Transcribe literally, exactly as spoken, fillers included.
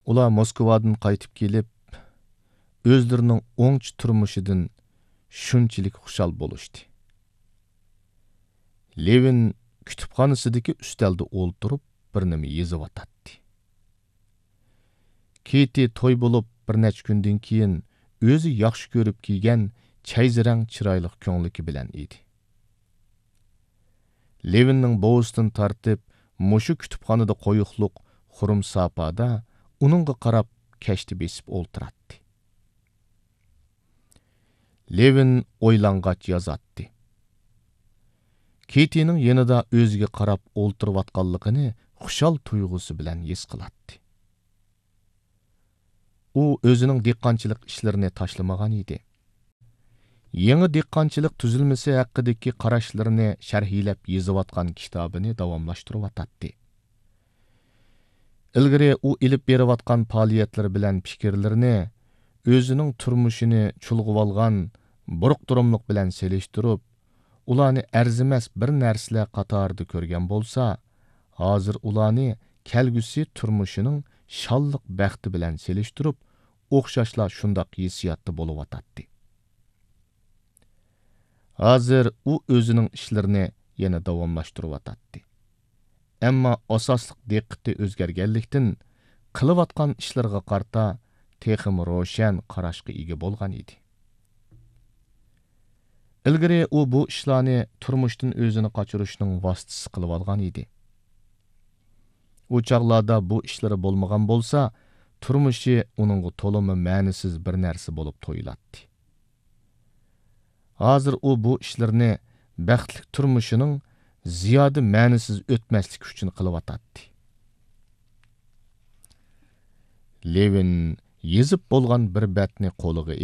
ئۇلار موسكۋادىن قايتىپ كېلىپ، ئۆزلىرىنىڭ ئوڭچە تۇرمۇشىدىن شۇنچىلىك خۇشال بولۇشتى. لېۋىن كۇتۇپخانىسىدىكى ئۈستەلدە ئولتۇرۇپ، بىر نېمە يېزىۋاتاتتى. كېتى توي بولۇپ، بىر نەچچە كۈندىن كېيىن ئۆزى ياخشى كۆرۈپ كىيگەن چەيزى رەڭ چىرايلىق كۆڭلىكى بىلەن ئىدى. لېۋىننىڭ بوۋىسىدىن تارتىپ مۇشۇ كۇتۇپخانىدا قويۇقلۇق خۇرۇم ساپادا ئۇنىڭغا قاراپ كەشتە بېسىپ ئولتۇراتتى. لېۋىن ئويلانغاچ يازاتتى. كېتىنىڭ يېنىدا ئۆزىگە قاراپ ئولتۇرۇۋاتقانلىقىنى خۇشال تۇيغۇسى بىلەن ھېس قىلاتتى. ئۇ ئۆزىنىڭ دېھقانچىلىق ئىشلىرىنى تاشلىمىغان ئىدى. يېڭى دېھقانچىلىق تۈزۈلمىسى ھەققىدىكى قاراشلىرىنى شەرھلەپ يېزىۋاتقان كىتابىنى داۋاملاشتۇرۇۋاتاتتى. ئىلگىرى ئۇ ئېلىپ بېرىۋاتقان پائالىيەتلىرى بىلەن پىكىرلىرىنى ئۆزىنىڭ تۇرمۇشىنى چۇلغىۋالغان بۇرۇق-دۇرۇملۇق بىلەن سېلىشتۇرۇپ، ئۇلارنى ئەرزىمەس بىر نەرسىلەر قاتارىدا كۆرگەن بولسا، ھازىر ئۇلارنى كەلگۈسى تۇرمۇشىنىڭ شانلىق بەختى بىلەن سېلىشتۇرۇپ، ئوخشاشلا شۇنداق ھېسسىياتتا بولۇۋاتاتتى. ھازىر ئۇ ئۆزىنىڭ ئىشلىرىنى يەنە داۋاملاشتۇرۇۋاتاتتى. ئەمما ئاساسلىق دىققىتى ئۆزگەرگەنلىكتىن، قىلىۋاتقان ئىشلىرىغا قارىتا تېخىمۇ روشەن قاراشقا ئىگە بولغان ئىدى. ئىلگىرى ئۇ بۇ ئىشلارنى تۇرمۇشتىن ئۆزىنى قاچۇرۇشنىڭ ۋاسىتىسى قىلىۋالغان ئىدى. ئۇ چاغلاردا بۇ ئىشلىرى بولمىغان بولسا، تۇرمۇشى ئۇنىڭغا تولىمۇ مەنىسىز بىر نەرسە بولۇپ تۇيۇلاتتى. ھازىر ئۇ بۇ ئىشلىرىنى بەختلىك تۇرمۇشىنىڭ زىيادە مەنىسىز ئۆتمەسلىكى ئۈچۈن قىلىۋاتاتتى. لېۋىن يېزىپ بولغان بىر بەتنى قولىغا